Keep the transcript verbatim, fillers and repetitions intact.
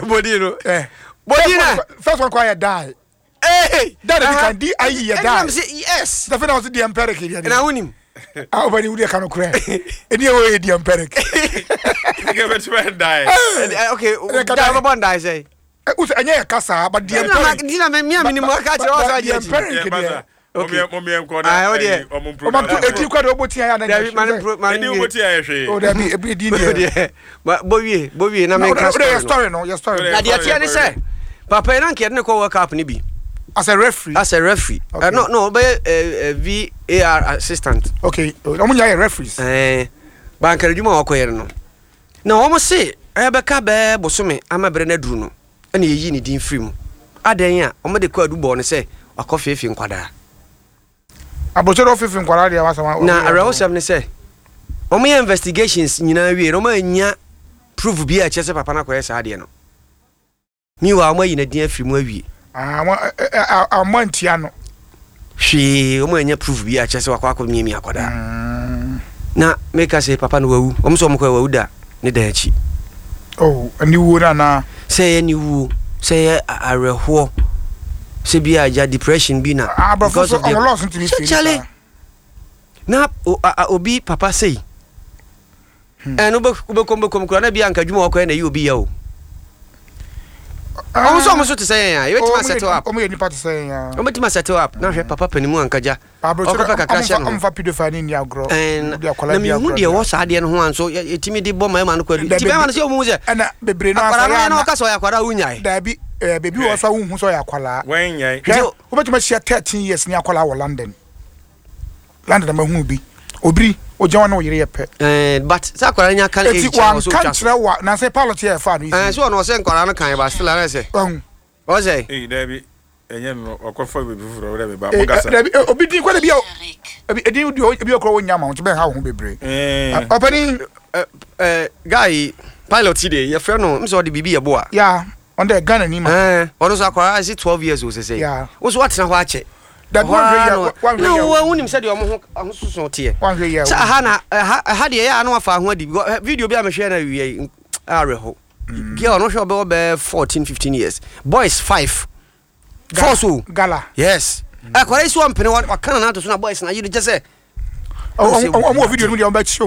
Body no. Eh. Body na. First one kɔ yɛ die. Hey. Die de kan D I E yɛ die. Ɛna sɛ yes. Sɛ na ɔsi D M Peric yɛ Na wonim. Ah, ɔbɛni wuli ka no korɛ. Ɛni ɛwɔ yɛ D M Peric. Nka bɛtumi die. Eh, okay, Ɛna die bɛbɔ die sɛ. Usu ɛnyɛ yɛ kasa but D M Ɛna ma Peric. nti na me me a menim aka kyerɛ wo sɛ D M agye akyi. Peric deɛ. Okay. Mɔmiɛ nkɔ Ah, na wo deɛ. ɔmo Ɔma to edi kɔ de ɔbɔ tia ya na. Dabi ma ne pro ma Ɛdi ne wo wie. ti ayɛ hwee. O dabi ebi edi deɛ. Deɛ. Ma bɔ wie, bɔ wie na Na menka o de yɛ story no. story no, yɛ story no. Na deɛ teɛ ne sɛ papa yi na nka yɛde ne kɔ World Cup no bi As a referee. As a referee. Okay. Uh, no no ɔbɛyɛ uh, uh, V A R assistant. Okay, ɔmo nyɛ yɛ referees. Ɛɛ bankari adwuma a wɔkɔyɛ no no na wɔn se ɛbɛka bɛɛ bosome ama berɛ no aduru no, ɛna yɛyi ne din firi mu adan a wɔn de kɔ adu bɔɔ no sɛ wakɔ feefee nkwadaa. Abɔsɛ dɛ ɔfifi nkwadaa deɛ wasa wa. Na awerɛhosɛm ne sɛ wɔn yɛ investigations nyinaa wie na wɔn anya proof bi a ɛkyerɛ sɛ papa no akɔyɛ saa adeɛ no. Meanwhile, wɔn ayi ne din afiri mu awie. Ah, wɔn ɛ ɛ ɔmo ntia no. Hwee, wɔn anya proof bi a ɛkyerɛ sɛ wakɔ akɔ miamia akwadaa. Mm. Na meka sɛ papa no wawu, wɔn nso wɔn kɔ wawu da ne dan akyi. Oh, ani wuo na na. Sɛ ɛyɛ ne wuo, sɛ ɛyɛ a- awerɛhoɔ, sɛ bi a agya depression bi na Aborɔfo so of the- ɔmo laws ntumi Sɛ firi kyale saa. Na o- a- a- obi papa sei ɛno wobɛkɔm bɛkɔm kora na bia anka adwuma a wɔkɔyɛ na ɛyɛ obi yɛ o. Ɔmo nso ɔmo so te sɛ yɛn a yɛbɛtumi Ɔmo asettle yɛ- up. Ɔmo yɛ nipa te sɛ yɛn a. Ɔmo settle up na hwɛ papa panimu ankagya ɔkɔpɛ kakra hyɛ no ho. Ɔmfa pedophile ne ni agorɔ. Ɛn, Wode akwadaa na di mehu agorɔ deɛ deɛ. ɛwɔ saa adeɛ no ho a nso yɛ- yɛtumi de bɔ mmarima no kwadu Dabi- nti bɛrima no sɛ ɔmu sɛ Ɛna bebree no akwadaa no asɔre yɛ na ana- ɔka sɛ ɔyɛ akwadaa a wonyae. Dabi, ɛɛ beebi wɔ so a wohu sɛ ɔyɛ akwadaa. Wɔn nyɛ. Hwɛ, Nti- wobɛtumi ahyia thirteen years ne akwadaa wɔ London. London na mahu bi obiri ogyina hɔ ne oyere yɛ pɛ. Ɛn, but sɛ akwadaa no nya kan Eti age kyerɛ wɔ so wanka otwa so nkyerɛ wa na sɛ pilot yɛ ɛfa no ɛn isi. so ɔno ɔsɛ nkwadaa no kan ba still ara sɛ Ɔhu. ɔsɛ Ee, dabi, ɛnyɛ no, ɔkɔfa beebi foforɔ ɔdɛ bɛba Eh, mo kasa. eh, dabi, eh, obi din kɔ de bi a ebi edin di ebi okoro wo nya ma wo nti bɛn ha wo ho bebree. Ɛɛ. Ɔpɛni. ɛ ɛ guy yi, pilot yi de yɛfrɛ no m sɛ ɔde biribi yɛ boa. Ya, ɔn dɛ Ghana ni ma. Ɛn, ɔno nso akwadaa ɛsi twelve years o sɛsɛ Yeah. wo so watena hɔ akyɛ. Dabi, Hɔ ara wanhwɛ na yɛ wanhwɛ na yɛ wo wonim sɛdeɛ ɔmo ho ahososo teɛ. Wanhwɛ yɛ. Sɛ aha na ɛha ɛha deɛ ɛyɛ a na wafa ho adi because ɛ, video bi a mehwɛ na wie yi awerɛho. Girl no hwɛ ɔbɛwɔ bɛɛ fourteen fifteen years, boys five force o. Gala. Yes, akwadaa yi so ɔmpene waka na nato so na boys na yiri kyɛ sɛ Ɔmo wɔ video no mu deɛ ɔmo bɛ kyi ɔmo.